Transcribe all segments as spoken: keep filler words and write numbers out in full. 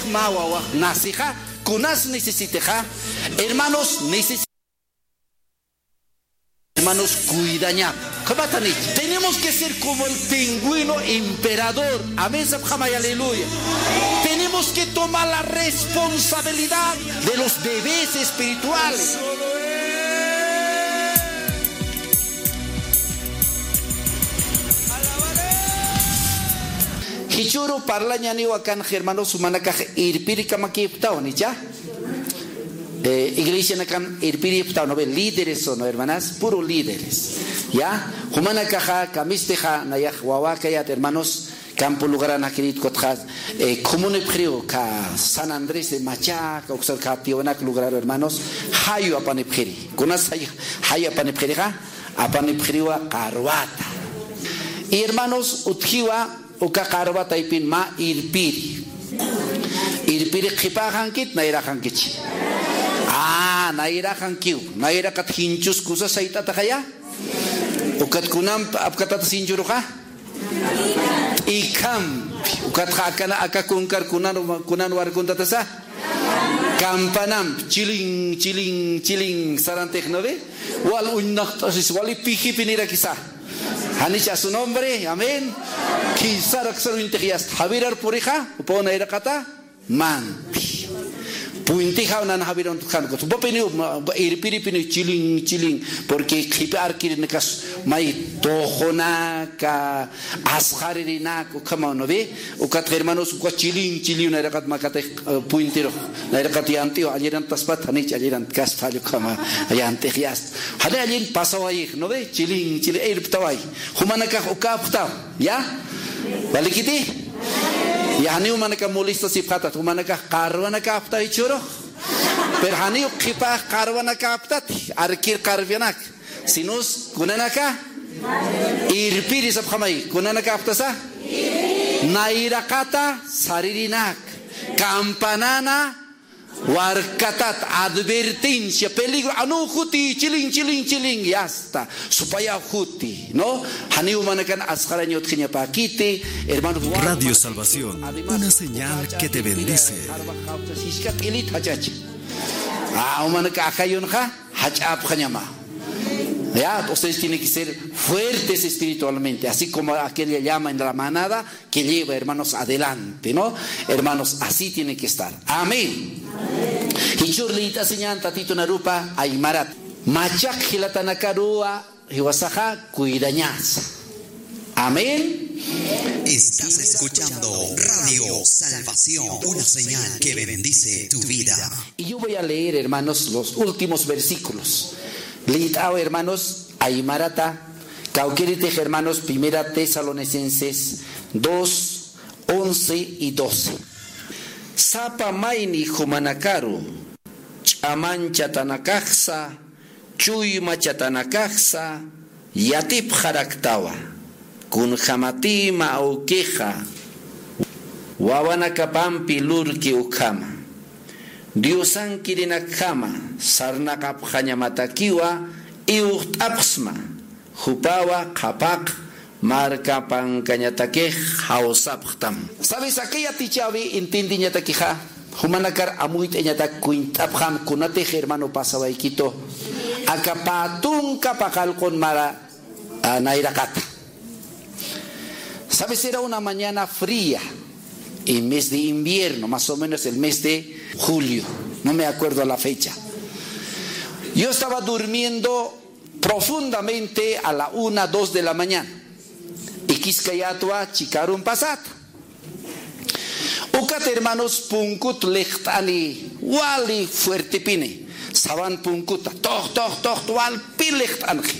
Mä wawax nacexa, kunas necesitexa, hermanos, necesi-, hermanos, cuidaña. Kapatanich. Tenemos que ser como el pingüino emperador. Amén, sapxamay, aleluya. Tenemos que tomar la responsabilidad de los bebés espirituales. Jichhüru parlañäniwa kan, hermanos, jumanakax irpirikamakïpxtaw, ¿no? Ya. Eh, iglesianakan irpirïpxtaw, ¿no ve? Líderes son, ¿no, hermanas? Puro líderes. Ya. Jumanakaxa, kamistixa, nayax wawäkayät, hermanos, campo lugaranakirït, ukatxa, eh, comunipxiriw, ka San Andrés de Machaca, uksar ka Tiwanaku lugar, hermanos, jayu apanipxiri. Kunas jayu, jayu apanipxirixa, apanipxiriwa qarwata. Y hermanos, utjiwa uka qarwataypin mä irpiri. Irpiri qhipäxankit, nayraxankich. Ah, nayraxankiw. Nayraqat jinchhus kusa sayt'ataxaya. Ukat kunamp apkatata sinchuruxa. T'ikhampi. Ukatxa akana, aka kunkar kunan, kunan warkuntatasa. Kampanampi, chilin, chilin, chilin, sarantix, ¿no ve? Wal uñnaqt'asis, wali pijipinirakisa. Janicha su nombre, amén. Kisarak sarantix yasta. Javirar purixa, upaw nayraqata, manti. Puentixaw nan javiran tukxan, upat. Upapiniw, ma, irpiripiniw, chilin, chilin. Porque qhipi arkirinakas, may toxonaka, asxaririnak ukhamaw, ¿no ve? Ukat, hermanos, uka chilin, chilin, nayraqat makatix, eh, puentirux, nayraqat yant'iw, alliranttaspat, janich allirantkas, jall ukhama, yant'ix yasta. Jani allin pasawayix, ¿no ve? Chilin, chilin, irptaway. Jumanakax ukapxtaw, ¿ya? ¿Valikiti? Ya, janiw jumanaka molestasipxatat, jumanakax qarwanakapxtaw jichhürux. Pero janiw qhipax qarwanakapxtat, arkir qarwianak. Sinus, kunanaka, irpiri sapxamay, kunanakapxtasa, nayraqata saririnak, campanana warkatat, advertencia, peligro, anu juti, chilin, chilin, chilin, yasta, supaya juti, ¿no? Janiw jumanakan asxarañ utjañapäkiti, hermano. Radio Salvación, una señal que te bendice. Ah, jumanaka ajayunxa, jach'apxañama. Ya, ustedes tienen que ser fuertes espiritualmente, así como aquel le llama en la manada, que lleva, hermanos, adelante, ¿no? Hermanos, así tiene que estar. Amén. Jichhür liyt'asiñan Tatitun arupa aymarat. Machaq jilatanakaruwa jiwasaxa cuidañasa. Amén. Estás escuchando Radio Salvación, una señal que bendice tu vida. Y yo voy a leer, hermanos, los últimos versículos. Liyt'aw, hermanos, aymarata, kawkïritix, hermanos, Primera Tesalonicenses dos, once y doce. Sapa mayni jumanakaru ch'amanchatanakaxsa, chuymachatanakaxsa yatipxaraktawa, kunjämatï mä awkixa wawanakapampi lurki ukhama. Diosankirinakjama sarnaqapxañamatakiwa iwxt'apxsma, jupawa qhapaq marka pankañatakix jawsapxtam. ¿Sabes? Aka yatichäwi entiendeñatakixa, jumanakar amuyt'añatak kuent'apxam kunatix hermano pasawaykitu. Aka pä tunka paqallqun mara, ah, nayraqata. ¿Sabes? Era una mañana fría, en mes de invierno, más o menos el mes de julio, no me acuerdo la fecha. Yo estaba durmiendo profundamente a la una, dos de la mañana. Ikiskayätwa chikarun pasata. Ukat, hermanos, punkut liqt'ani wali fuertepini. Sawan punkuta. Toq, toq, toq, walpi liqt'anxi.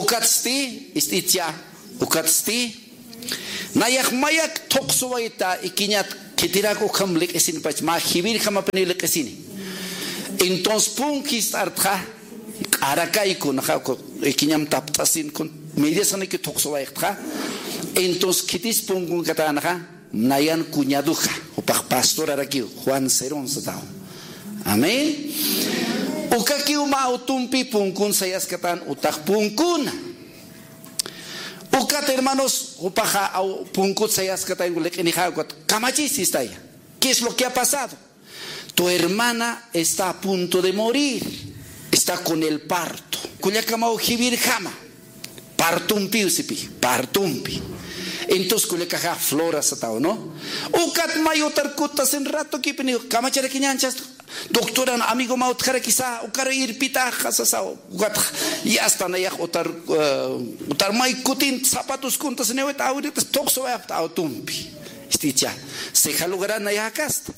Ukatsti, ist'icha, ukatsti. Nayax mayak thuqsuwayta ikiñat khitirak ukham liq'isinpach, mä jiwirjamapini liq'isini. Entonces, punk jist'artxa, q'arakayku, naxa, ikiñam tapt'asin, kun, mediasanaki thuqsuwayxtxa. Entonces, khitis punkunkatänxa, nayan cuñadoxa, jupax pastorarakiw, Juan Cerón sataw. Amén. Ukakiw mä utumpi punkun sayaskatän, utax punkuna. Ukat, hermanos, jupaxa aw punkut sayaskatayku liq'inixa, ukat kamachis istaya. es lo que ha pasado? Tu hermana está a punto de morir, está con el parto. Kullakamaw jiwirjama. Partumpiw sipi, partumpi. Entonces kullakaxa Flora sataw, ¿no? Ukat may utar kuttasin ratukipiniw, kamacharakiñänchas, doctoran amigomaw utjarakisa, ukar irpitaxa sasaw. Ukat ya está nayax utar, eh, utar may kutin zapatos kuntasiniwit awiritas tuqsuwayapta awtumpi. Isticha, ceja lograr nayaxasta.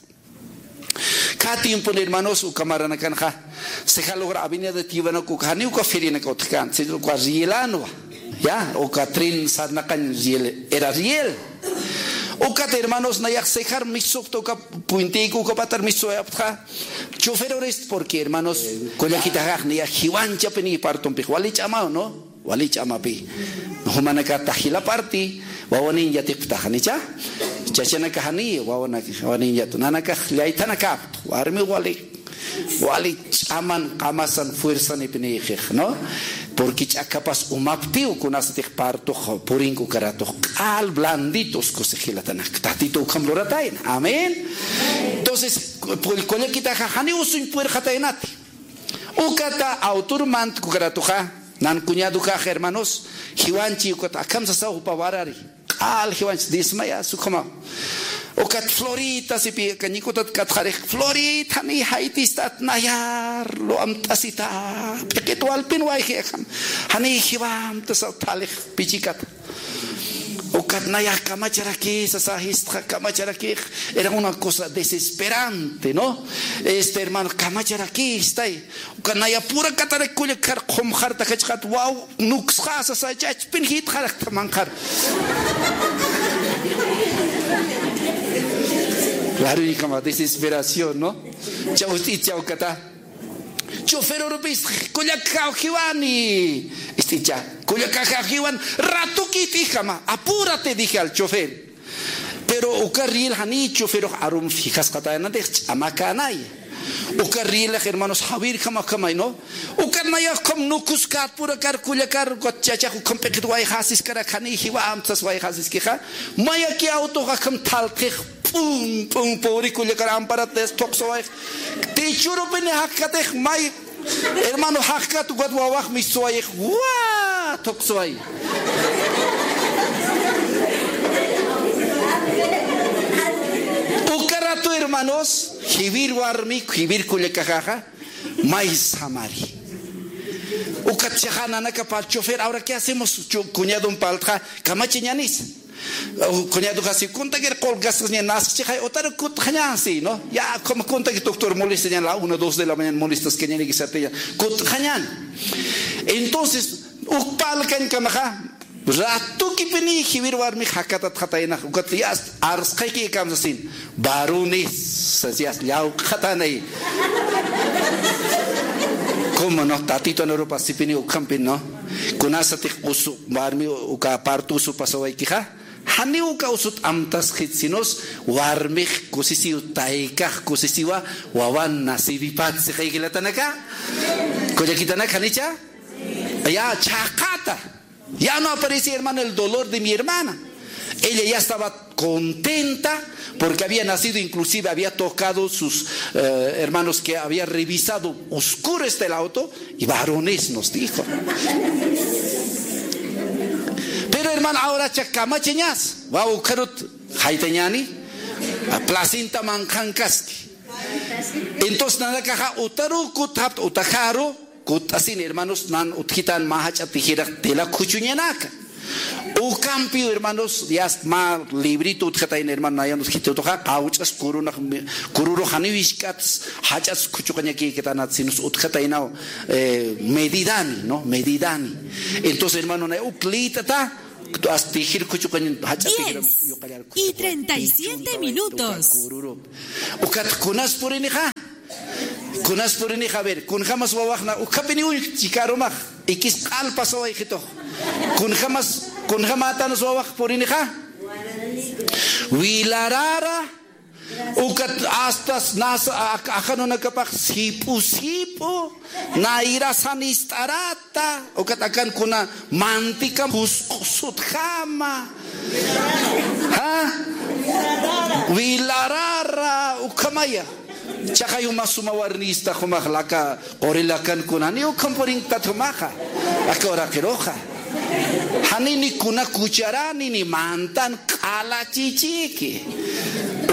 Cada tiempo, hermanos, uka maranakanxa, ceja lograr avenida de Tiwanaku, uka jani uka ferianaka utjkän, sino uka rielanwa. Ya, uka tren sarnaqañ riel, era riel. Ukat, hermanos, nayax cejar misuqta uka puenteyku uka patar misuwayaptxa. Chofer orest, porque, hermanos, kullakitaxax nayax jiwanchapini partumpix, wali ch'amaw, ¿no? Wali ch'amapi. Jumanaka tajila parti, wawanin yatiptaxa, ¿nicha? Chachanaka jani, wawanaka, wawanin yatu. Nanakax llaythanakapta, warmi wali, wali ch'aman, qamasan, fuerzanipinïxix, ¿no? Porque ch'akapas umaptiw, kunasatix partux purinku uka ratux, q'al blanditos, kusixilatanaka. Tatito ukham luratayna. Amén. Entonces, ku-, kullakitaxa jani usuñ puerxataynati. Ukata autor mant kukaratuxa, nan cuñadokax, hermanos, jiwanchi ukat akham sasaw jupa warari. Q'al jiwanchi desmayas ukhamaw. Ukat Florita sipi, kañikutat katxarix, Florita, jani jaytistat nayar, lo amt'asita, p'iqit walpin wayji akham. Jani jiwamta saw thalix pichikat. Ukat nayax kamacharaki, sasa jistxa kamacharakix. Era una cosa desesperante, ¿no? Este, hermano, kamacharaki, jistay. Ukat naya pura katarak kullakar qhumxarta kachqat, waw, nuksxa, sasa, chachpin jitxarakta manqhar. Claro, y como desesperación, ¿no? Chawst'i chawkata. Chofer urupis, kullakaxaw jiwani. Ist'icha, kullakaxaw jiwan, ratukit'ijama, apúrate, dije al chofer. Pero uka riel jani choferux arum fijasqatäyanatix ch'amakänay. Uka rielax, hermanos, jawirjama ukhamay, ¿no? Ukat nayax ukham nukuskät purakar kullakar, ukat chachax ukham p'iqit wayjasiskarak, jani jiwamta sas wayjasiskixa. Mayaki autox akham thalt'ix, p'un, p'un, pobre kullakar amparat des tuqsuwayx. Techurupini jakatix may, hermano, jakat ukat wawax misuwayix, ¡wa! Tuqsuway. Uka rato, hermanos, jiwir warmi, jiwir kullakaxaxa, may samari. Ukat chixa nanaka pal chofer, ¿ahora qué hacemos? Chu-, cuñadon paltxa, kamachañänis. Cuñadoxa si kuntakir qulqasxañäni, naskchixay, utar kutxañäni, ¿no? Ya, como kuntakir doctor molestañäni, la una, dos de la mañana molestaskañäni, que se atella, kutxañäni. Entonces, uk parlkañkamaxa, ratukipini jiwir warmix jakatatxataynax, ukat ya arsqaykïkam sasin, varones, sas ya llawqxatänay. ¿Cómo no? Tatito anurupasipini ukhampin, ¿no? Kunasatix usu, warmi uka parto usu pasawaykixa, janiw uka usut amtasxit, sinos warmix kusisiw, taykax kusisiwa, wawan nasiripat sixay jilatanaka. Kullakitanak, ¿janicha? Ya, chhaqata. Ya no aparece, hermano, el dolor de mi hermana. Ella ya estaba contenta porque había nacido, inclusive había tocado sus, eh, hermanos, que había revisado oscuro este el auto, y varones nos dijo. Pero, hermano, ahora chakamachañas, va a buscar ot-, jaytañäni, placenta manqhankaski. Entonces, nanakaxa utaru kutxapta, utajaru, kutt'asin, hermanos, nan utjitän mä jach'a tijerax tela khuchuñanaka. Ukampiw, hermanos, ya mä librito utjatayna, hermano, nayan utjituxa, qawch'as kurunax, kururu janiw jisk'ats, jach'as khuchuqañakïkitänat, sinos utjataynaw, eh, medidani, ¿no? Medidani. Entonces, hermano, nay uk lït'ata, as tijir khuchuqañ jach'a tijir. Diez y treinta y siete minutos. Ukat kunas purinixa. Kunas purinixa, a ver, kunjamas wawaxna, ukhapini uñjt chikarumax, ikis q'al pasawayxitux. Kunjamas, kunjamätanas wawax purinixa. Wilarara, ukat astas nas, a-, ajanunakapax sip'u sip'u, nayrasan ist'arata, ukat akan kuna mantikam pusq'sutjama. ¿Ja? Wilarara ukhamaya. Chaqay juma suma warnista jumax laka qurilakan kuna, ni ukham purintat jumaxa. Aka uraqiruxa. Jani ni kuna kucharani ni mantan q'alachichiki.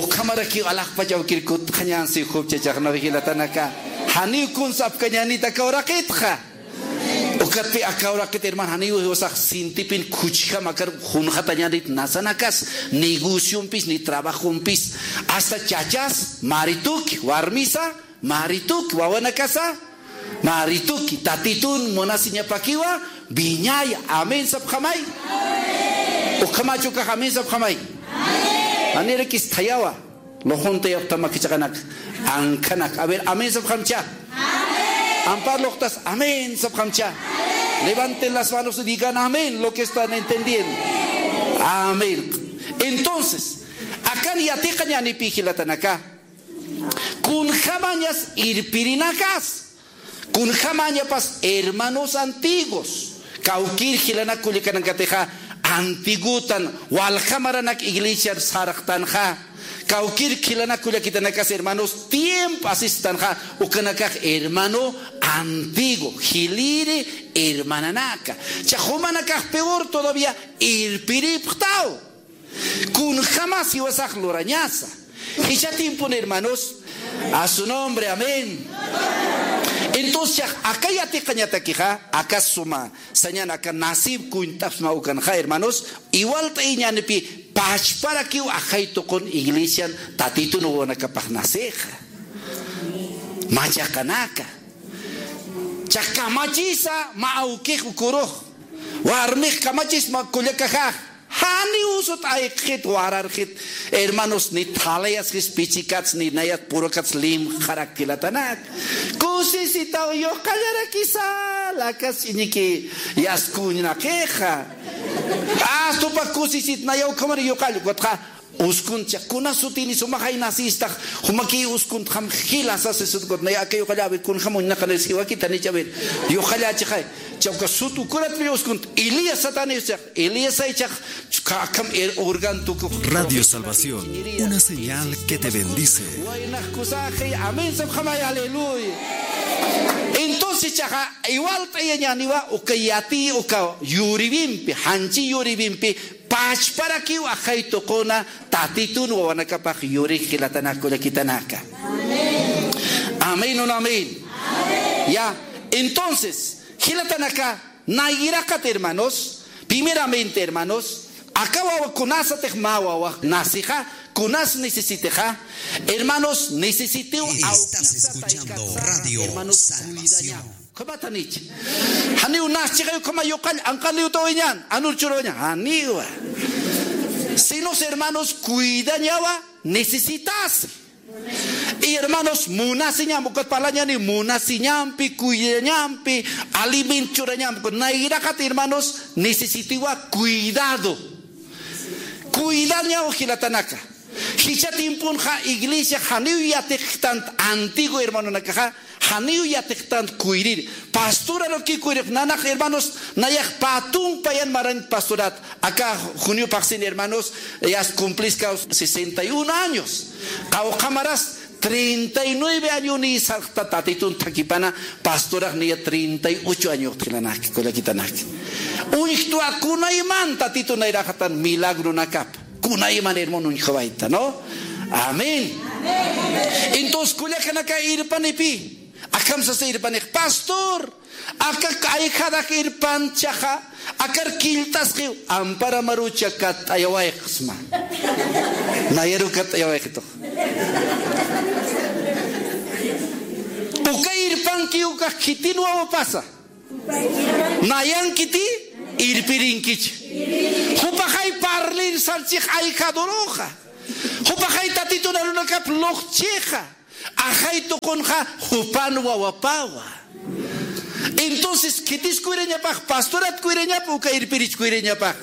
Ukhamarakiw alaxpach awkir kutxañan si jupchachaxnaw jilatanaka. Jani kun sapkañanit aka uraqitxa. Ukatpi aka uraqit hermano, janiw jiwasax sintipin khuchjam akar junxatañanit nasanakas, negociompis ni trabajompis, hasta chachas marituki, warmisa marituki, wawanakasa marituki, Tatitun munasiñapakiwa wiñaya. Amén sapxamay. Ukhamach ukax amén sapxamay. Janirakis thayawa. Luxunta yaptama kichaqanak, ankhanak. A ver, amén sapxamcha. Ampar luxtas, amén sapxamcha. Levanten las manos y digan amén lo que están entendiendo. Amén. Entonces, akan yatiqañanipï jilatanaka, kunjamañas irpirinakas. Kunjamañapas hermanos antiguos, kawkïr jilanak kullakanakatixa, antiguotan, walja maranak iglesiar sarxtanxa, kawkïr jilanak kullakitanakas hermanos, tiempo asistanxa, ukanakax hermano antiguo, jiliri hermananaka. Cha jumanakax peor todavía irpiripxtaw. Kunjamas jiwasax lurañasa. Jichha tiempon hermanos, a su nombre, amén. Entonces, aka yatiqañatakixa, aka suma, sañan aka nasip kuñt'apxsma ukanxa, hermanos, igual t'iñanipï, pachparakiw ajay tuqun iglesian Tatitun wawanakapax nasixa. Machaqanaka. Cha kamachisa mä awkix ukurux. Warmix kamachis mä kullakaxax. Janiw usut ayqxit, wararxit. Hermanos, ni thalayasxis pichikats, ni nayat purakats limxarak jilatanak. Kusisitaw yuqallarakisa, lakas iñiki yaskuñnaqixa. Astupa kusisit nayaw ukhamar yuqall, ukatxa uskuntcha, kuna sutini sumaxay nasistax, jumaki uskuntxam jila sasisut, ukat naya aka yuqalla, a ver, kunjam uñnaqanis jiwakitanicha, a ver, yuqalla chixay. Chawka sut ukuratpi uskunt, Elías satani uchax, Elías aychax, chka akham er organ tuku. Radio Salvación, una señal que te bendice. Waynax kusaxi, amén, sapxamay, aleluya. Entonces, chaxa, igual t'iyañaniwa, uka yati, uka yurïwimpi, janchi yurïwimpi, pachparakiw ajay tuquna Tatitun wawanakapax yurix jilatanak kullakitanaka. Amén, un amén. Ya, entonces, jilatanaka, nayraqat hermanos, primeramente hermanos, aka wawa kunasatix mä wawa nasixa, kunas necesitixa, hermanos, necesitiw. Estás escuchando Radio Salvación. Ukhamatanicha. Janiw nas chiqay ukhama yuqall, anqan liwtawayañan, anur churawayañan, janiwa. Sinos hermanos, cuidañawa, necesitas. Y hermanos, munasiñampi, ukat parlañani, munasiñampi, cuidañampi, alimento churañampi, ukat nayraqat hermanos, necesitiwa cuidado. Cuidañaw jilatanaka. Jichha tiemponxa iglesia janiw yatiqtant antiguo hermanonakaxa, janiw yatiqtant kuyrïr. Pastoraruki kuyrïr, nanax hermanos, nayax pä tunka yan maranit pastorat. Aka junio phaxsin hermanos, ya cumpliskaw sesenta y un años. Qawqha maras treinta y nueve añoni sarxta Tatitun thakipana, pastorax niya treinta y ocho año utjilanaki, kullakitanaki. Uñjtwa kunayman Tatitun nayraqatan milagronakap. Kunayman hermano uñjawayta, ¿no? Amén. Entonces, kullakanaka irpanipï. Akham sasa irpanix, pastor, aka ayjadax irpanchaxa, akar killt'asqiw, ampara marucha katt'ayawayxsma. Nayaru katt'ayawayxitux. Uka irpanki ukax khitin wawapasa. Nayankiti irpirinkichi. Jupaxay parlir sarchix ayjaduruxa. Jupaxay Tatitun arunakap luxchixa. Ajay tuqunxa jupan wawapawa. Entonces, khitis kuyrañapax, pastorat kuyrañapa, uka irpirich kuyrañapax.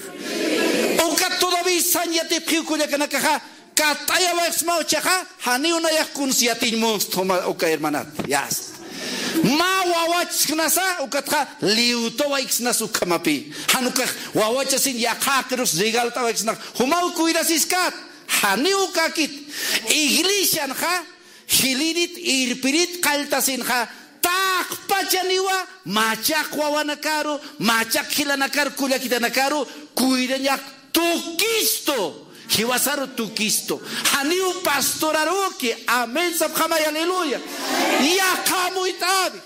Uka todavía sañ yatipxiw kullakanakaxa, katt'ayawayxsmaw chaxa, janiw nayax kuns yatiñ munst juma uka hermanat. Yasta. Mä wawachsnasa, ukatxa liwtawayksnas ukhamapï. Jan ukax wawachasin yaqhaqirus regalt'awayksnax, jumaw kuyrasiskat. Janiw kakit. Iglesianxa, jilïrit, irpirit qalltasinxa, taqpachaniwa machaq wawanakaru, machaq jilanakar, kullakitanakaru kuyrañax tukistu. Jiwasaru tukistu. Janiw pastoraruki. Amén sapxamay, aleluya. Yaqha amuyt'äwi.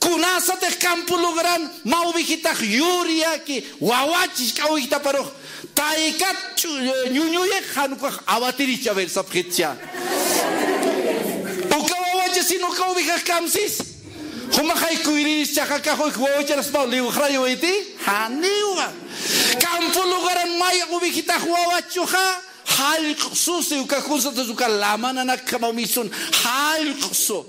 Kunasatix campo lugaran mä ovejitax yuriyaki, wawach jisk'a ovejitaparux, taykat ch'u-, ñuñuyix jan ukax awatiricha, a ver, sapxitcha. Uka wawachasin uka ovejax kamsis. Jumaxay kuyriris chaqakaxux wawacharaspaw liwxrayawayti. Janiwa. Campo lugaran may ovejitax wawachuxa, jallq'susi, uka kunsatas uka lamananakjamaw misun, jallq'su.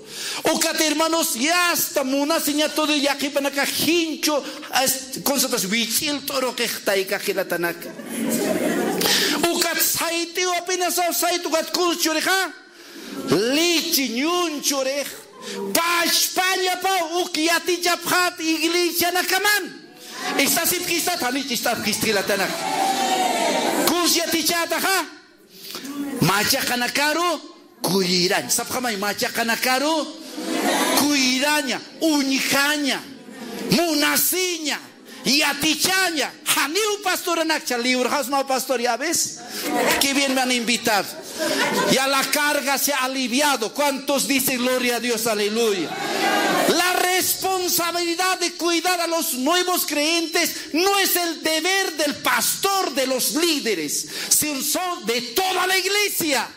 Ukat hermanos, yasta munasiña todo yaqhipanakax jinchu, as-, kunsatas wich'il t'uruqix taykax jilatanaka. Ukat sayt'iw apenas sayt ukat kuns churixa, lichi ñun churix, pachpañapaw uk yatichapxät iglesianakaman. Istasipkistat, janich istapkist jilatanak. Kuns yatichätaxa, machaqanakaru kuyirañ. Sapxamay, machaqanakaru kuyiraña, uñjaña, munasiña, yatichaña. Janiw pastoranakcha, liwrxasmaw pastor, ya ves. Qué bien me han invitado. Ya la carga se ha aliviado. ¿Cuántos dicen gloria a Dios? Aleluya. La responsabilidad de cuidar a los nuevos creyentes no es el deber del pastor, de los líderes, sino de toda la iglesia.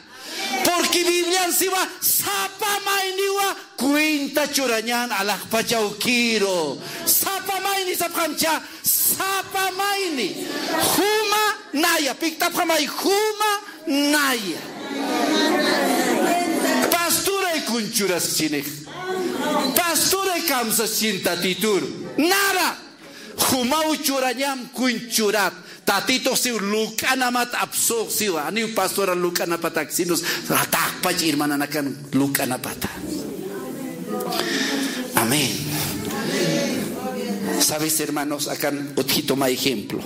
Porque Biblian siwa, sapa mayniwa cuenta churañän alaxpachaw kiru. Sapa mayni sapxamcha, sapa mayni. Juma naya, pikt'apxamay, juma naya. Pastoray kuns churaskchinix. Pastoray kamsaskchin Tatitur. Nara. Jumaw churañam kuns churat. Tatitux siw luk'anamat apsuq siwa. Janiw pastora luk'anapatak, sino taqpach hermananakan luk'anapata. Amén. Sabes, hermanos, akan utjitu mä ejemplo.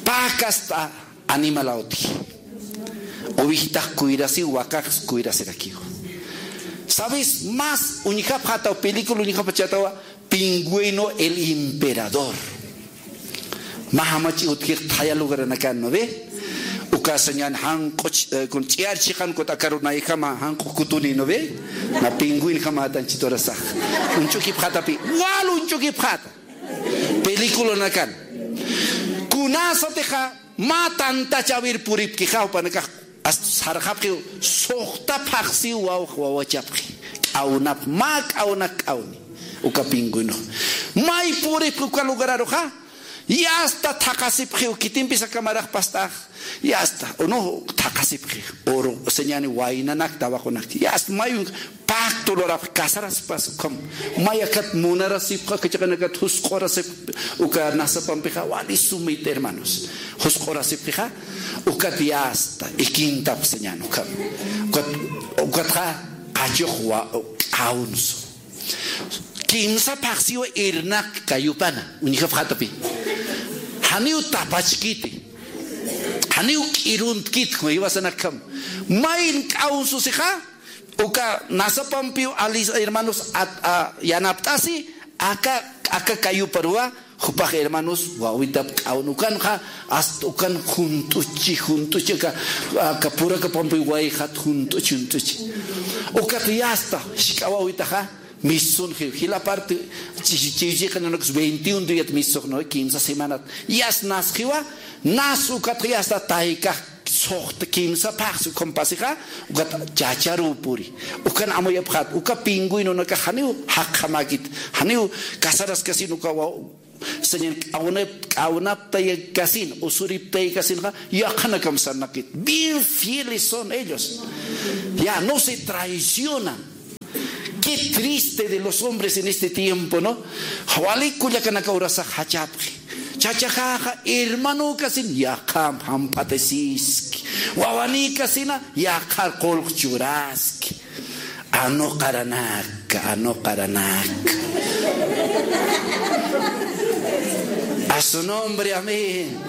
Pä kasta animal utji. Ovejitax kuyrasiw, wakax kuyrasirakiw. Sabes, más uñjapxätaw, película uñjapxätawa, Pingüino el emperador. Mä jamach'i utjix thaya lugaranakan, ¿no ve? Uka sañän janq'u ch-, eh, kun ch'iyar chiqan kut aka arunayjama janq'u kutuni, ¿no ve? Na pingüinjama atan chiturasax. Uñch'ukipxätapï, wal uñch'ukipxäta. Películanakan. Kunasatixa mä tantachawir puripkixa, jupanakax hasta sarxapxiw, suxta phaxsiw waw-, wawachapxi. K'awnap, mä k'awnak k'awni. Uka pingüinux. May puripki uka lugararuxa, yasta thaqasipxiw, khitimpis aka marax pastax. Yasta, uno thaqasipxi. Oro, sañäni waynanak, tabaconak. Yasta, may un pacto lurapxi, casaraspas, ukham. May akat munarasipxa, aka chiqanakat jusq'urasip, uka nasapampixa, wali sumit, hermanos. Jusq'urasipxixa, ukat yasta, ikintap sañän, ukham. Ukat, ukatxa, qachux wa-, k'awnsu. Kimsa phaxsiwa irnaq kayupana, uñjapxätapï. Janiw tapachkiti. Janiw k'iruntkit, jiwasanakjam. Mayn k'awnsusixa, uka nasapampiw alis, hermanos, at-, a, yanapt'asi, aka, aka kayuparuwa, jupax hermanos, wawitap k'awn ukanxa, hasta ukan junt'uchi, junt'uchi, aka, aka purakapampiw wayxat junt'uchi, junt'uchi. Ukat yasta, jisk'a wawitaxa, misunxiw, jila parte, chi-, chi-, chiqananuks veintiún días misux, ¿no? Kimsa semanat. Yasta nasxiwa, nas ukat yasta taykax suxta kimsa phaxsi ukham pasixa, ukat chacharuw puri. Ukan amuyapxät, uka pingüinunakax janiw jaqjamäkit, janiw casaraskasin uka wa-, sañän k'awnap-, k'awnaptaykasin, usuriptaykasinxa, yaqhanakam sarnakit. Bien fieles son ellos. Ya, no se traicionan. Qué triste de los hombres en este tiempo, ¿no? Wali kullakanaka urasax jachapxi. Chachaxaxa hermanökasin yaqha jamp'atasiski. Wawanïkasina yaqha qullq churaski. Anuqaranak, anuqaranak. A su nombre, amén.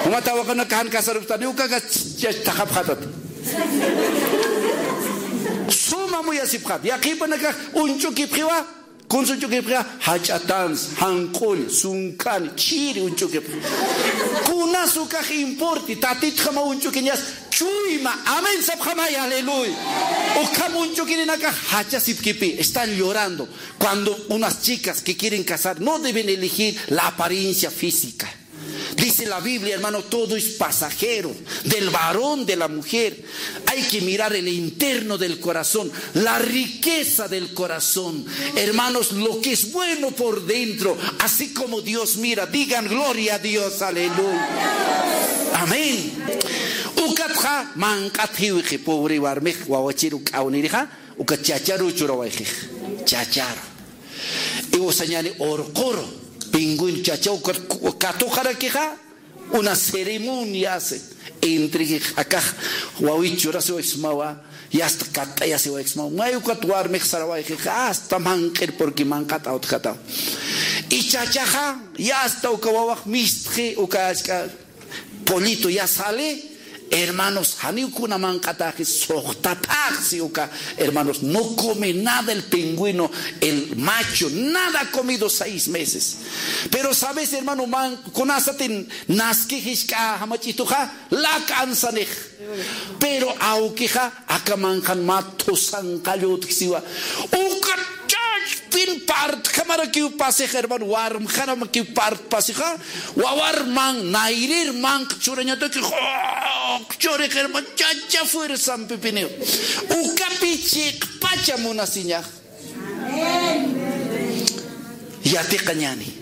Jumat awaqanakax jan casarupxtani, ukakas ch-, ch-, thaqhapxatati. Suma muyasipxat. Yaqhipanakax uñch'ukipxiwa, kunsa uñch'ukipxiwa, jach'atansa, janqulla, sunk'ani, chhiri uñch'ukipxi. Kunas ukax importi, Tatitjama uñch'ukiñas, chuyma. Amén sapxamay, aleluya. Ukham uñch'ukirinakax jachasipkipi, están llorando. Cuando unas chicas que quieren casar no deben elegir la apariencia física. Dice la Biblia, hermano, todo es pasajero, del varón, de la mujer. Hay que mirar el interno del corazón, la riqueza del corazón. Hermanos, lo que es bueno por dentro, así como Dios mira. Digan, "Gloria a Dios, aleluya". Amén. Ukatxa manq'at jiwixi, pobre warmix, wawachiru k'awnirixa, uka chacharu churawayxix. Chacharu. Iwsañani urquru, pingüino chacha, ukat ku-, katuqarakixa, una ceremonia hacen. Entregix, akax wawit churasiwayksmawa, yasta katt'ayasiwayksmawa. May ukat warmix sarawayxix, hasta manq'ir porque manq'at awtjataw. Y chachaxa, yasta uka wawax mistxi, uka ask'a pollito ya sale, hermanos, janiw kuna manq'ataxi, suxtataxsi uka, hermanos, no come nada el pingüino, el macho, nada ha comido seis meses. Pero, ¿sabes, hermano? Man-, kunasati naskix jisk'a jamach'ituxa, lak ansanix. Pero awkixa, aka manq'an mä thusanqall utjksiwa. Uka chachpin partjamarakiw pasix, hermano, warmxaramakiw part pasixa, wawar man-, nayrir manq'a churañataki, huk churix, hermano, chacha fuerzampipiniw. Ukapi chiqpacha munasiñax. Yatiqañani.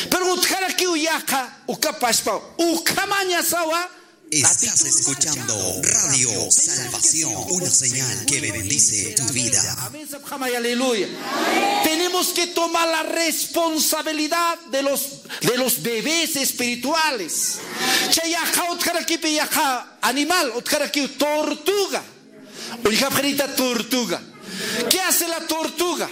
Pero utjarakiw yaqha, uka pachpaw, ukhamañasawa, Estás escuchando Radio Salvación, una señal que bendice tu vida. Amén sapxamay, aleluya. Tenemos que tomar la responsabilidad de los, de los bebés espirituales. Chay yaqha utjarakipi, yaqha animal utjarakiw tortuga. Uñjapxirita tortuga. ¿Qué hace la tortuga?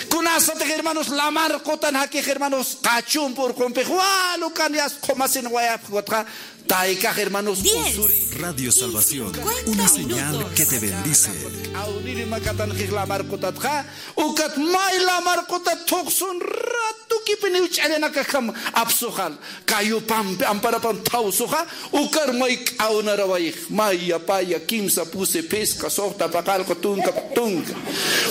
Kunasatix, hermanos, lamar qutan jakix, hermanos, qachump urqumpix, wal ukan yasta qhumasin wayapxi ukatxa, taykax, hermanos, usuri. Radio Salvación, una señal que te bendice. K'awniri makatanxix lamar qutatxa, ukat may lamar qutat thuqsun ratukipiniw ch'allanakaxam apsuxal. Kayupampi, amparapam thawsuxa, ukar may k'awnarawayix, may yapaya, kimsa pusi, phisqa, suxta, paqallqu, tunka, tunka.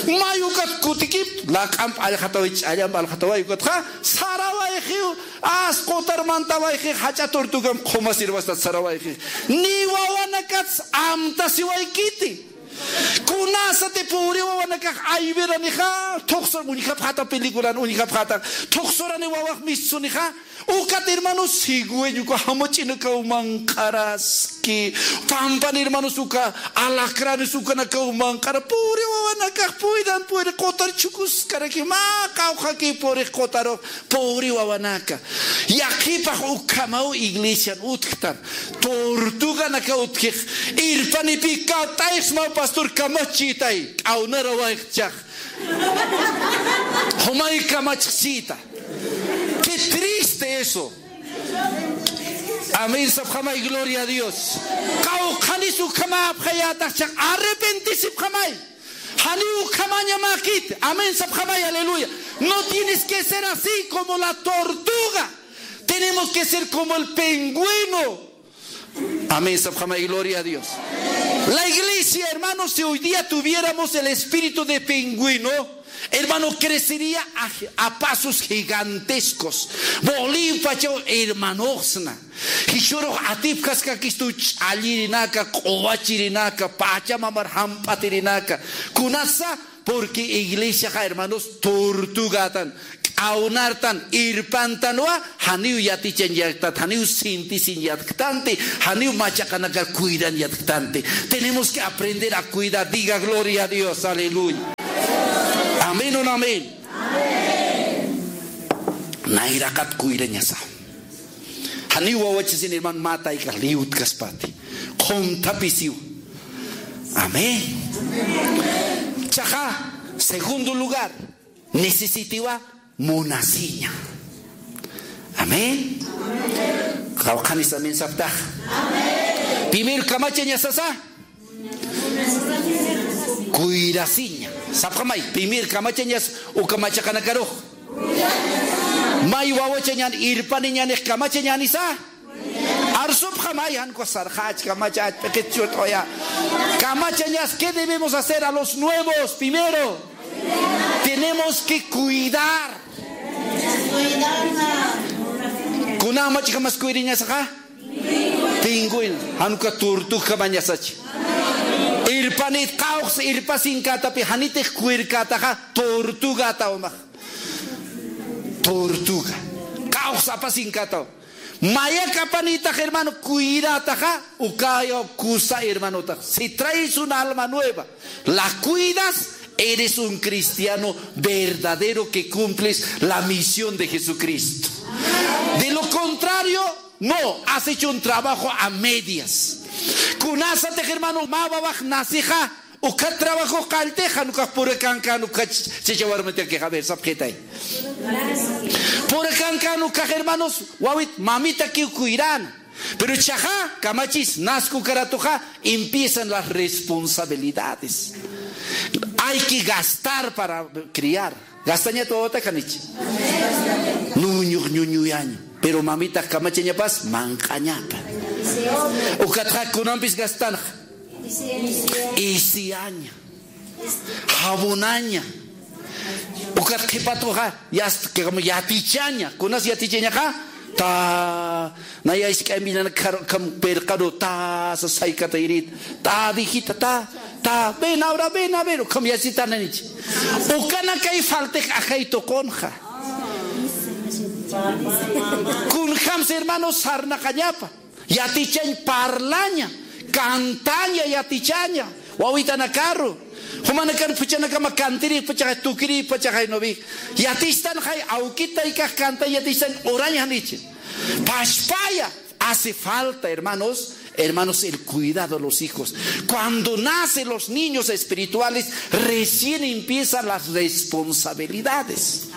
May ukat kutikip, laq'amp alxataway, ch'allamp alxataway, ukatxa, sarawayxiw, as qutar mantawayxix, jach'a tortugam qhumasirwastat sarawayxix. Ni wawanakats amtasiwaykiti. Kunasati pobre wawanakax ayberanixa, thuqsar uñjapxata, películan uñjapxata, thuqsurani wawax mistsunixa, ukat, hermanos, cigüeño, uka jamach'inakaw manq'araski. Pampan, hermanos, uka alacranes ukanakaw manq'ara. Pobre wawanakax, puydan, pobre, qutar chukuskaraki, mä qawqhaki, pobre qutarux, pobre wawanaka. Yaqhipax ukhamaw iglesian utjtan. Tortuganaka utjix. Irpanipï kat'ayxsmaw pastor, kamachitay. K'awnarawayxchix. Jumay kamachxchita. Qué triste eso. Amén sapxamay, gloria a Dios. Qawqhanis ukhamäpxayätax, arrepentisipxamay. Janiw ukhamañamäkiti. Amén sapxamay, aleluya. No tienes que ser así como la tortuga. Tenemos que ser como el pingüino. Amén sapxamay, gloria a Dios. La iglesia, hermanos, si hoy día tuviéramos el espíritu de pingüino, hermano, crecería a, a pasos gigantescos. Bolin pachaw hermanoxsna. Jichhürux atipkaskakistu ch'allirinaka, q'uwachirinaka, pachamamar jamp'atirinaka. Kunasa, porque iglesiaxa, hermanos, tortugatan, k'awnartan, irpantanwa, janiw yatichañ yatktan, janiw sintisiñ yatktanti, janiw machaqanakar cuidañ yatktanti. Tenemos que aprender a cuidar. Diga, "Gloria a Dios, aleluya". Amén o no amén. Nayraqat cuidañasa. Janiw wawachasin, hermano, mä taykax liyutkaspati. Qhumthapisiw. Amén. Chaxa, segundo lugar, necesitiwa munasiña. Amén. Qawqhanis amén saptax. Primero kamachaña sasa. Cuidasiña. Sapxamay, primero kamachañas uka machaqanakarux. May wawachañan irpaniñanix kamachañanisa. Arsupxamay, jan ukax sarxach kamacha, p'iqit chut'oya. Kamachañas, ¿qué debemos hacer a los nuevos? Primero, tenemos que cuidar. Kuna mach'jamas cuidañasaxa. Pingüino, jan uka tortugajamañasachi. Irpanit qawqs irpasinkatapi janitix cuirkataxa tortugata umax. Tortuga. Qawqs apasinkataw. Mayak apanitax hermano cuidataxa, ukayaw kusa hermanotax. Si traes una alma nueva, la cuidas, eres un cristiano verdadero que cumples la misión de Jesucristo. De lo contrario, no, has hecho un trabajo a medias. Kunasatix hermano, mä wawax nasixa, uka trabajo qalltix, jan ukax purakankan uka ch-, chicha warmitakix, a ver, sapxitay. Purakankan ukax hermanos, wawit mamitakiw cuidan. Pero chaxa, kamachis, nasku karatuxa, empiezan las responsabilidades. Hay que gastar para criar. Gastañat wawata kanich. Nuñux ñuñuyaña. Pero mamitax kamachañapas, manq'añapa. Ukatxa kunampis gastanxa. Isiaña. Jabonaña. Ukat qhipatuxa, yast-, que como yatichaña. Kunas yatichañaxa, ta, naya isk'ay minan kar-, kam perqaru, ta, sa-, saykata irit. Ta, viejita, ta, ta, ven ahora, ven a ver, como yasitananich. Ukanakay faltix ajay tuqunxa. Kunjams hermanos sarnaqañapa. Yatichañ parlaña, cantaña, yatichaña. Wawitanakaru. Jumanakan phuchhanakama cantiri phuchhaxay, tukiri phuchhaxay, ¿no ve? Yatistanxay, awkit taykax cantañ, yatistañ, urañ janichi. Pashpaya. Hace falta, hermanos, hermanos, el cuidado de los hijos. Cuando nacen los niños espirituales, recién empiezan las responsabilidades.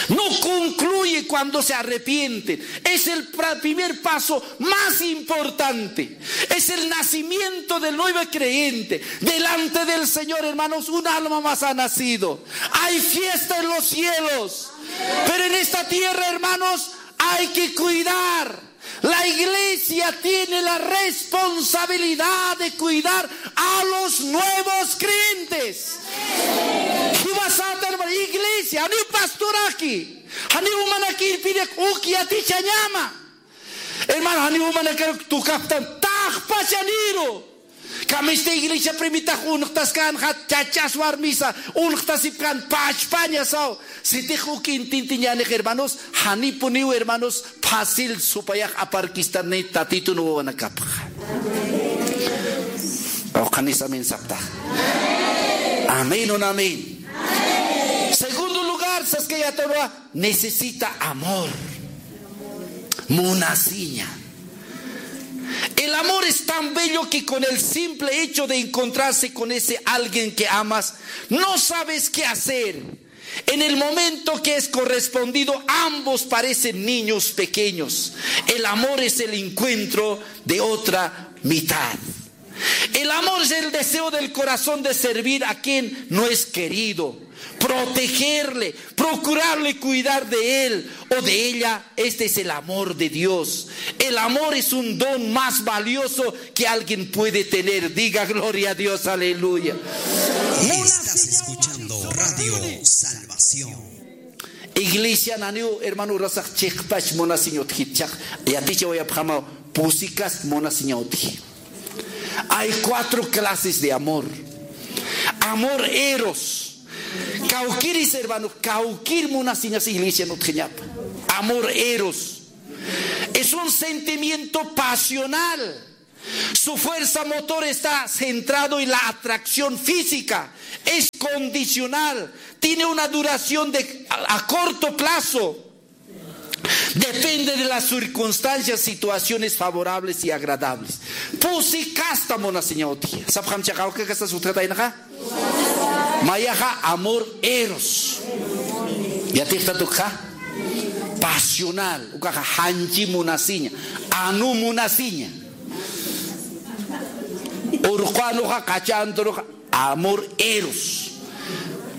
No concluye cuando se arrepienten. Es el pra-, primer paso más importante. Es el nacimiento del nuevo creyente. Delante del Señor, hermanos, un alma más ha nacido. Hay fiesta en los cielos. Pero en esta tierra, hermanos, hay que cuidar. La iglesia tiene la responsabilidad de cuidar a los nuevos creyentes. Jiwasäta, hermano, iglesia, janiw pastoraki, janiw jumanaki irpirak uk yatichañama. Hermano, janiw jumanakaru tukaptan, taqpachaniru. Kamista iglesia primitax unxtaskänxa, chachas warmisa, unxtasipkän pachpañasaw. Sitix uk intintiñänix, hermanos, janipuniw, hermanos, fácil supayax aparkistarnay Tatitun wawanakapxa. Qawqhanis amén sapta. Amén, un amén. Segundo lugar, saskayätawa, necesita amor. Munasiña. El amor es tan bello que con el simple hecho de encontrarse con ese alguien que amas, no sabes qué hacer. En el momento que es correspondido, ambos parecen niños pequeños. El amor es el encuentro de otra mitad. El amor es el deseo del corazón de servir a quien no es querido, protegerle, procurarle cuidar de él o de ella. Este es el amor de Dios. El amor es un don más valioso que alguien puede tener. Diga gloria a Dios, aleluya. Estás escuchando Radio Salvación. Iglesia naniw, hermano, urasax chiqpach munasiñ utjit, chax yatichawayapxamaw, pusikast munasiña utji. Hay cuatro clases de amor. Amor eros. Kawkiris, hermano, kawkir munasiñas iglesian utjañapa. Amor eros. Es un sentimiento pasional. Su fuerza motor está centrado en la atracción física. Es condicional. Tiene una duración de, a, a corto plazo. Depende de las circunstancias, situaciones favorables y agradables. Pusi kasta munasiña utji. Sapxam chaqawka kasta sutjataynaqa. Mayaxa amor eros. Yatixta tukxa. pasional, ukaxa janchi munasiña, anu munasiña. Urqu anuxa, qacha anturuxa, amor eros.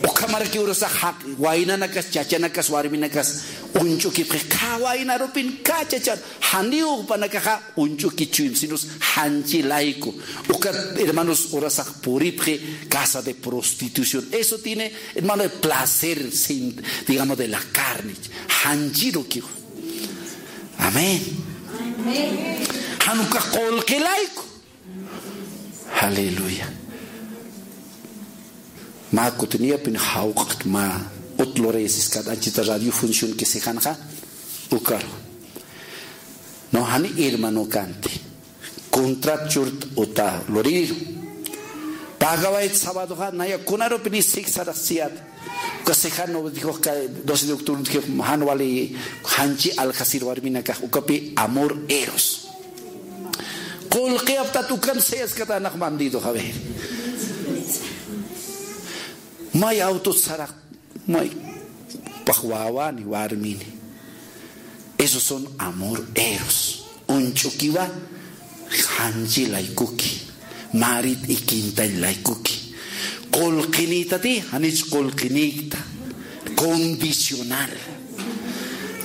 Ukhamaraki urasax waynanakas, chachanakas, warminakas uñch'ukipxi, qha waynarupin, qha chachar, janiw jupanakaxa uñch'ukichuyim, sinos janchi layku. Ukat, hermanos, urasax puripxi casa de prostitución. Eso tiene, hermano, el placer, sin, digamos, de la carne. Janchirukiw. Amén. Jan ukax qullqi layku. Aleluya. Mä kutiniyapin jawq'at mä ut lurayasiskat anchita radio función que se janxa ukar. No, jani hermano kanti. Contrat churt uta luriru. Pagawayt sabadoxa, naya kunarupini sik sarax siyat. Uka sejan no dijo que doce de octubre dijo, jan wali janchi aljasir warminakax, ukapi amor eros. Qullqi aptat ukan seas katanax bandido, a ver. May auto sarax, may pax wawani, warmini. Esos son amor eros. Uñch'ukiwa janchi laykuki, marit ikintañ laykuki. Qullqinïtati, janich qullqinïkta. Condicional.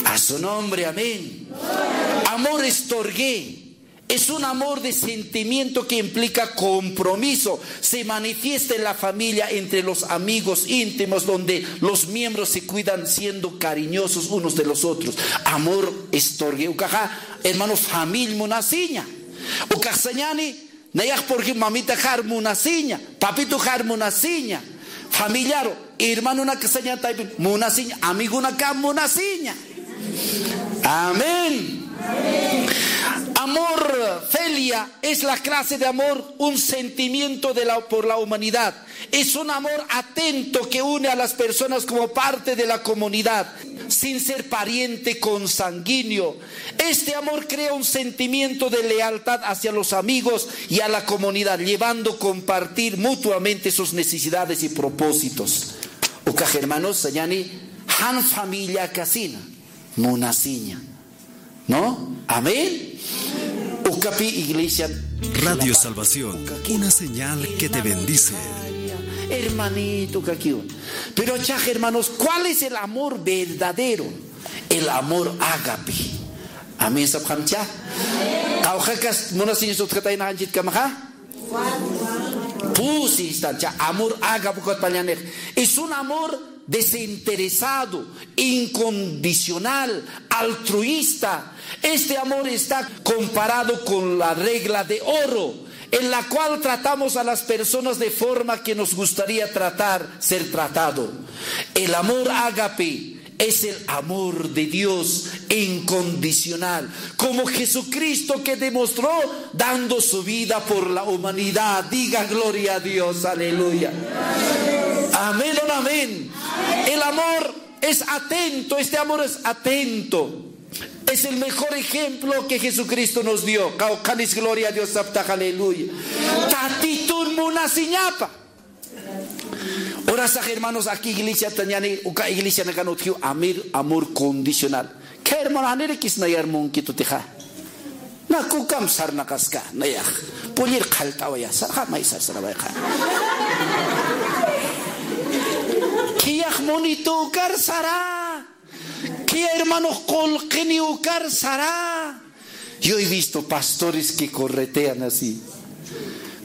A su nombre, amén. Amor estorgué. Es un amor de sentimiento que implica compromiso. Se manifiesta en la familia, entre los amigos íntimos, donde los miembros se cuidan siendo cariñosos unos de los otros. Amor estorgué. Ukaxa, hermano, familia munasiña. Ukax sañani, nayax, por ejemplo, mamita jar munasiña, papito jar munasiña, familiaro, hermanonakas sañan taypin munasiña, amigonakam munasiña. Amén. Amor filia es la clase de amor, un sentimiento de la, por la humanidad. Es un amor atento que une a las personas como parte de la comunidad, sin ser pariente consanguíneo. Este amor crea un sentimiento de lealtad hacia los amigos y a la comunidad, llevando a compartir mutuamente sus necesidades y propósitos. Ukax, hermanos, sañani jan familiakasina munasiña. ¿No? Amén. Ukapi iglesia. Radio Salvación, una señal que te bendice. Hermanito, ukakiw. Pero chax, hermanos, ¿cuál es el amor verdadero? El amor ágape. Amén, sapxamcha. Qawqhakas munasiñas utjatayna janchitkamaxa. Pusi, istan, cha, amor ágape ukat pallañanix. Es un amor desinteresado, incondicional, altruista. Este amor está comparado con la regla de oro, en la cual tratamos a las personas de forma que nos gustaría tratar, ser tratado. El amor ágape es el amor de Dios incondicional, como Jesucristo que demostró dando su vida por la humanidad. Diga gloria a Dios, aleluya. Amén o no amén. El amor es atento, este amor es atento. Es el mejor ejemplo que Jesucristo nos dio. Qawqhanis gloria a Dios saptax, aleluya. Tatitun munasiñapa. Urasax, hermanos, aquí iglesiat sañani, uka iglesianakan utjiw amir, amor condicional. ¿Qué, hermano, janirakis nayar munkitutixa? Nax ukam sarnaqaska, nayax. Pullir qhallt'awaya, sarxa may sar sarawayxa. Khiyax munitu ukar sara. Khiya hermanox qullqini ukar sara. Yo he visto pastores que corretean así.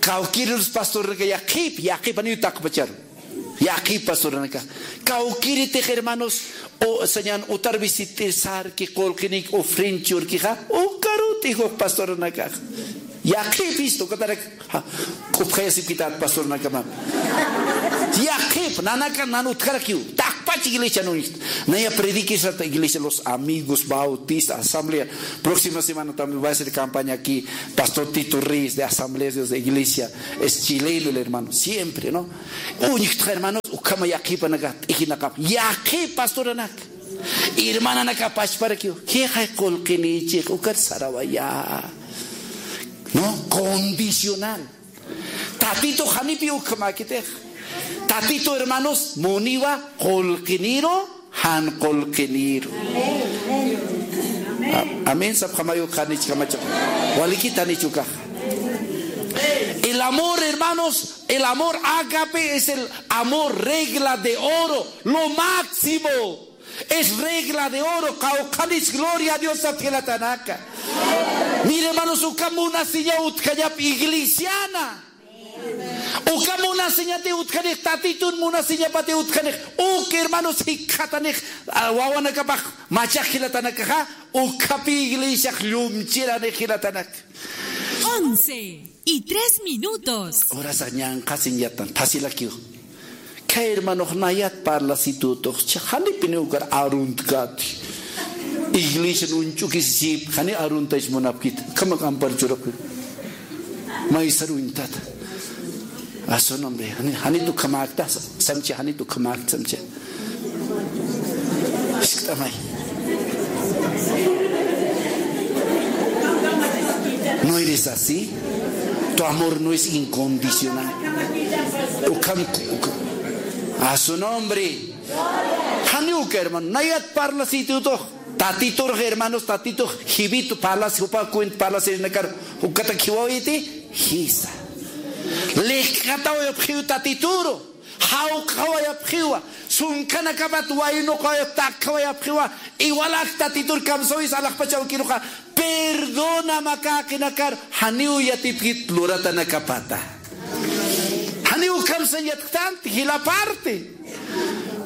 Kawkïrir pastornaka yaqhip, yaqhip, janiw taqpacharu. Yaqhip pastornaka. Kawkïritix, hermanos, o sañan utar visitir sarki, qullqinïk ofrenda churkixa, ukarutix juq pastornakax. Yaqhip, visto, ukatarak, ja, q'upxayasipkitat pastornakamam. Yaqhip, nanaka nan utjarakiw, taqpach iglesian uñjt. Naya predikisata iglesia Los Amigos, Bautista, Asamblea. Próxima semana también va a hacer campaña aquí, Pastor Tito Reyes de Asambleas de Dios de Iglesia. Es chileno el hermano, siempre, ¿no? Uñjtxa, hermanos, ukhama yaqhipanaka, t'ijinakap. Yaqhip pastoranak. Hermananaka pachparakiw. Jixay qullqinïchix, ukar sarawaya. ¿No? Condicional. Tatito janipï ukhamäkitix. Tatito, hermanos, muniwa qullqinïru jan qullqiniru. A-, amén, sapxamay, ukanich kamachu. Walikitanichu kax. El amor, hermanos, el amor ágape es el amor regla de oro, lo máximo. Es regla de oro, qawqhanich, gloria a Dios, sapxilatanaka. Mire, hermanos, uka munasiña utjañap iglesiana. Uka munasiñati utjanix, Tatitun munasiñapati utjanix. Uk, hermanos, jikxatanix, a, wawanakapax machax jilatanakaxa, ukapi iglesiax llumchiranix jilatanaka. Once y tres minutos. Horasax ñanqhasiñ yatan, thasilakiw. Kay hermanox nayat parlasitutux, cha, janipiniw ukar aruntkäti. Iglesian uñch'ukisisip, jani aruntaysa munapkit. Khamak ampar churapki. Maysar uñtata. A su nombre. Jani, janitu khamakta, samchi, janitu khamakta, samchi. Jiskt'amay. No eres así. Tu amor no es incondicional. Ukham, ukham. A su nombre. Janiw uka, hermano. Nayat parlasitutux. Tatiturux, hermanos, Tatitux jiwitu parlas, jupa cuenta parlasirinakar, ukatak jiwawiti, jisa. Lejkatawayapxiw Tatituru. Jawqawayapxiwa, sunkanakapat waynuqawayap, takhawayapxiwa, iwalak Tatitur kamsawis alaxpach awkiruxa, perdona makäqinakar, janiw yatipkit luratanakapata. Janiw kamsañ yatktanti, jila parte.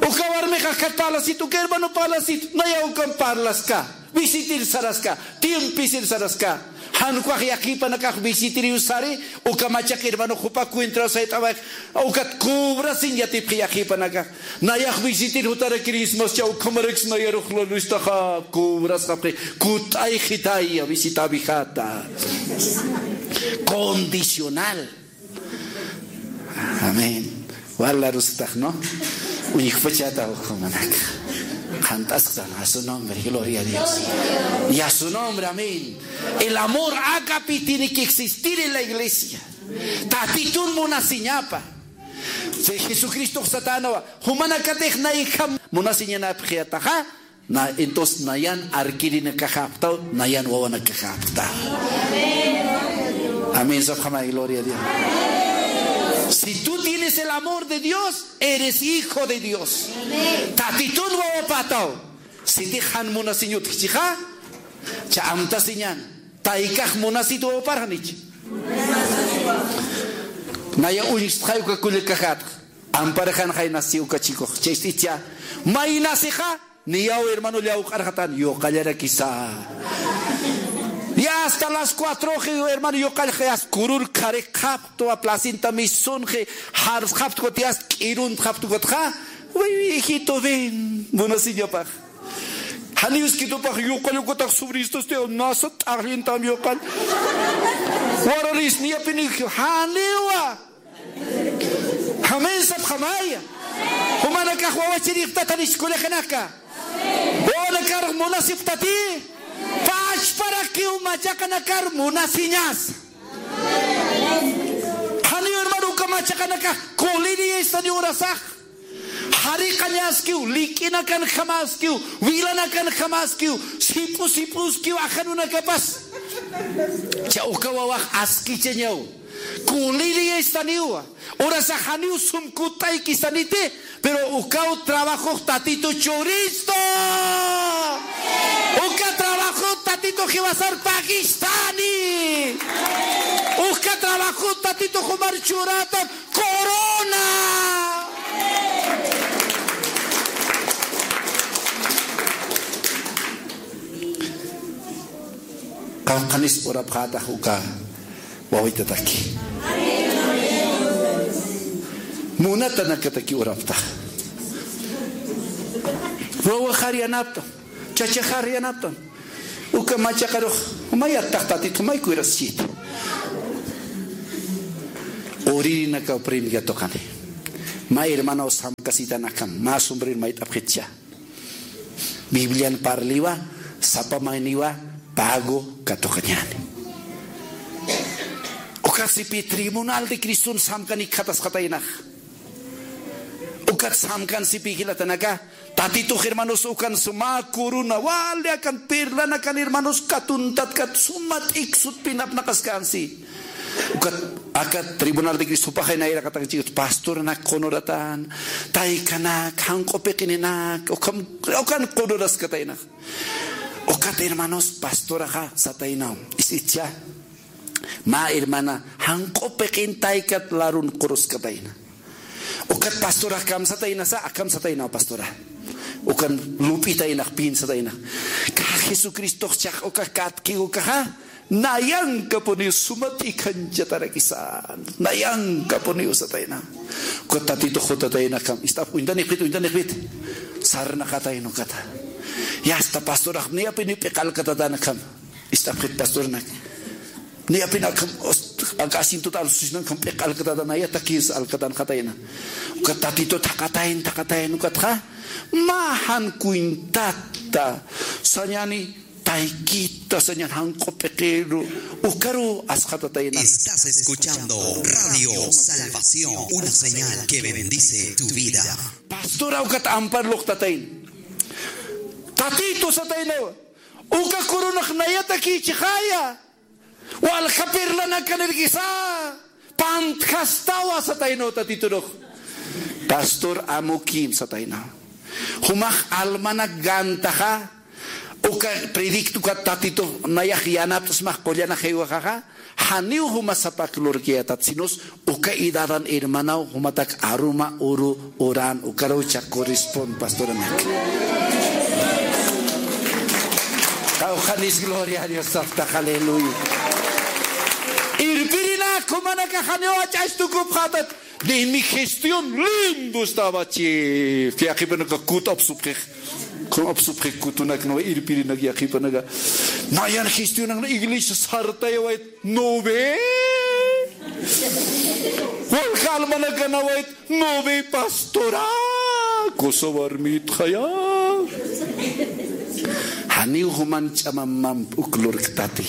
Uka warmix akat parlasitu, uka hermano parlasitu, naya ukan parlaska. Visitir saraska, tiempisir saraska. Jan ukax yaqhipanakax visitiriw sari, uka machaq hermano jupa cuentraw sayt'awax, ukat cobrasiñ yatipxi yaqhipanakax. Nayax visitir jutarakiri ismas cha ukhamarakis nayarux la luistaxa cobrasxapxi, kut'ayxitaya visitawixata. Condicional. Amén. Wal larusktax, ¿no? Uñjpachata ukhamanak. Qhant'asktan, a su nombre, gloria a Dios. Y a su nombre, amén. El amor ágape tiene que existir en la iglesia. Tatitun munasiñapa. Jesucristox satänawa, jumanakatix nayjam munasiñanapxiyataxa, na, entonces nayan arkirinakaxapxtaw, nayan wawanakaxapxtaw. Amén, sapxamay, gloria a Dios. Si tú tienes el amor de Dios, eres hijo de Dios. Tatitun wawapätaw. Sitix jan munasiñ utjchixa, cha amtasiñan. Taykax munasit wawapar janich. Naya uñstxay uka kullakaxatx. Amparaxanxay nasi uka chikux. Chaysti cha. May nasixa, niyaw hermano llawq'arxatan, yuqallarakisa. Ya hasta las cuatro, hermano, yuqallxi, as kurur kharikxapxtwa, placenta misunxi, jarsxapxtwa, tias k'iruntxapxtwa, uy, viejito, ven, munasiñapax. Janiw iskitupax yuqall ukatax subristasti, nasa t'aqllintam yuqall. Wararis niyapini, janiwa. Amén, sapxamaya. Jumanakax wawachiripxtatan iskhullaxanaka. Wawanakarux munasipxtati. Pachparakiw machaqanakar munasiñasa. Janiw hermano uka machaqanakax kuliriyayistani urasax. Jariqañaskiw, lik'inakanjamaskiw, wilanakanjamaskiw, sip'u sip'uskiw ajanunakapas. Cha uka wawax askichañaw. Kuliriyayistaniwa. Urasax janiw sum kut'aykistaniti, pero ukaw trabajox Tatitu churistu. Uka trabajox Tatitu jiwasar pagistani. Uka trabajox Tatitu jumar churatan corona. Qawqhanis urapxätax uka wawitataki. Munatanakataki urapxtax. Wawaxar yanaptam, chachaxar yanaptam. Uka machaqarux, may attax Tatitux, may cuidasita. Uririnakaw premio katuqani. Mä hermanaw samkasitanakam, mä sombrero mayt'apxitcha. Biblian parliwa, sapa mayniwa, pago katuqañäni. Ukat sipi Tribunal de Criston samkan ikxatasxataynax. Ukat samkan sipi jilatanaka, Tatitux, hermanos, ukan suma corona, wali akan perlanakan, hermanos, katuntatkat suma t'ik sutpin apnaqaskansi. Ukat aka Tribunal de Cristo jupaxay nayraqatakan chiqit pastoranak qunuratan, taykanak, janq'u piqininak, ukan, ukan qunuraskatayna. Ukat, hermanos, pastoraxa sataynaw, ist'icha. Mä hermana, janq'u piqin taykat larun quruskatayna. Ukat pastorax kamsataynasa, akamsataynaw pastora. Ukan lup'itaynax, piensataynax. Ka Jesucristox chaq uka katki ukaxa, nayankapuniw suma t'ikhanchatarakisa. Nayankapuniw satayna. Ukat Tatitux jutataynaxkam. Ist'ap, uñtanixpit, uñtanixpit. Sarnaqatayna ukata. Yasta pastorax niyapiniw p'iqalkatatanakam. Ist'apxit pastoranak. Niyapin akham, aka asientot alsusinankham p'iqalkatata, nayatakis alkatanxatayna. Ukat Tatitut thaqatayn, thaqatayn ukatxa. Mä jan cuentata sañani, taykita sañan janq'u piqiru, ukaru asxatatayna. Estás escuchando Radio Salvación, una señal que bendice tu vida. Pastora ukat ampar luqtatayn. Tatitu sataynawa. Uka coronax nayatakïchixaya. Walja perlanakanirkisa. Pantjastawa sataynaw Tatiturux. Pastor, amukim sataynaw. Jumax almanak gantaxa. Uka predicto ukat Tatitux nayax yanapt'smax qullanax jiwaxaxa. Janiw juma sapak lurkïtat, sinos uka edadan hermanaw jumatak aruma uru uran, ukaruw chaq corresponde pastoranak. Qawqhanis gloria a Dios sapxtax, aleluya. Irpirinak jumanakax janiw ach'ax tukupxätat. Ni mi gestión lindo estaba, chef. Yaqhipanaka kut apsupxix. Kun apsupxix kutunak, no, irpirinak yaqhipanaka. Nayan gestionak, no, iglesia sartayawayt, no ve. Walja almanakanawayt, no ve pastora. Kusa warmit jaya. Janiw juman ch'amamamp uk lurktati.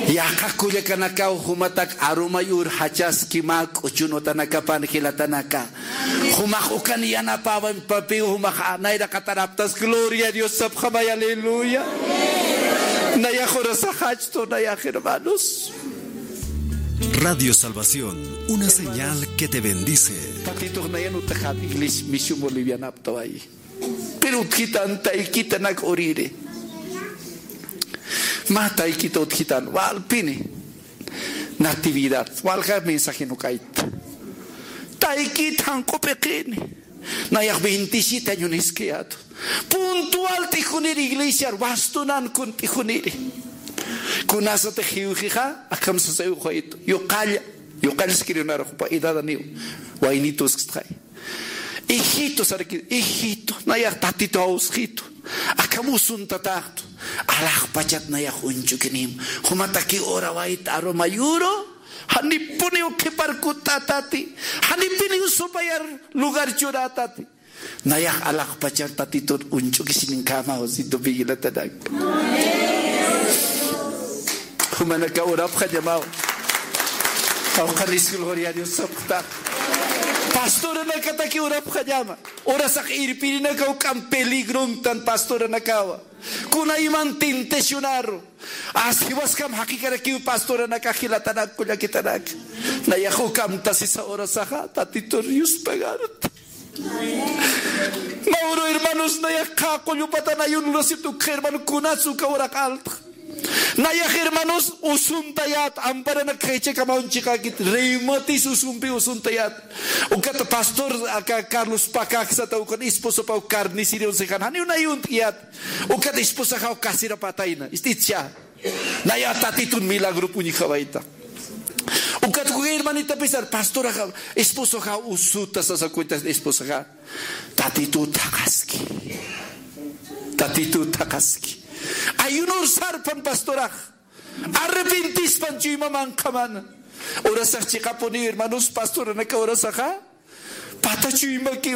Yaqha kullakanakaw jumatak arumay ur jachaski mä k'uchun utanakapan jilatanaka. Jumax ukan yanapäwampiw jumax nayraqataraptas, gloria a Dios sapxamay, aleluya. Nayax urasaxachtu, nayax hermanos. Radio Salvación, una señal que te bendice. Tatitux nayan utjat iglesia Misión Boliviana aptawayi. Pero utjitan taykitanak uriri. Mä taykita utjitan, walpini. Natividad, walja mensaje nukayt. Taykit janq'u piqini. Nayax veintisiete años niskiyätu. Puntual t'ijuniri iglesiar, wastunan kun t'ijuniri. Kunasatix jiwjixa, akham sasayuxaytu. Yuqalla, yuqall skiriwnaruxpa edadaniw. Waynituskstxay. Hijito, sarki, hijito, nayax Tatitu awsxitu. Akham usuntataxtu. Alaxpachat nayax uñch'ukinim. Jumatakiw urawayt arumay uru. Janipuniw qhiparkutätati. Janipuniw supayar lugar churätati. Nayax alaxpachar Tatitun uñch'ukisininkama, Diosito, vigilatanaka. Jumanaka urapxañamaw. Qawqhanis gloria a Dios sapxta. Pastoranakataki urapxañama. Urasax irpirinakaw k'am peligrontan pastoranakawa. Kunayman tentacionaru. As jiwaskam jaqikarakiw pastoranaka, jilatanaka, kullakitanaka. Nayax ukham tasisa urasaxa, Tatitun yuspagarta. Mawru hermanos, nayax qhä qullupatan ayun lurasitu, ukxa hermano kunas uka uraq altxa. Nayax hermanos, usuntayät, amparanak jichhakamaw chiqakit, reumatis usumpi usuntayät. Ukat pastor aka Carlos Pacac sata ukan esposopaw carnicería uñsixan, janiw nay uñt'kiyät. Ukat esposaxaw casera patayna, ist'itcha. Naya Tatitun milagro puñjawayta. Ukat uka hermanita pisar, pastoraxa, esposoxa usuta sasa cuentas esposaxa. Tatitu thaqaski. Tatitu thaqaski. Ayunur sarpan pastorax. Arrepentispan chuyma manqhamana. Urasax chiqapuni hermanos pastoranaka urasaxa. Pata chuyma ki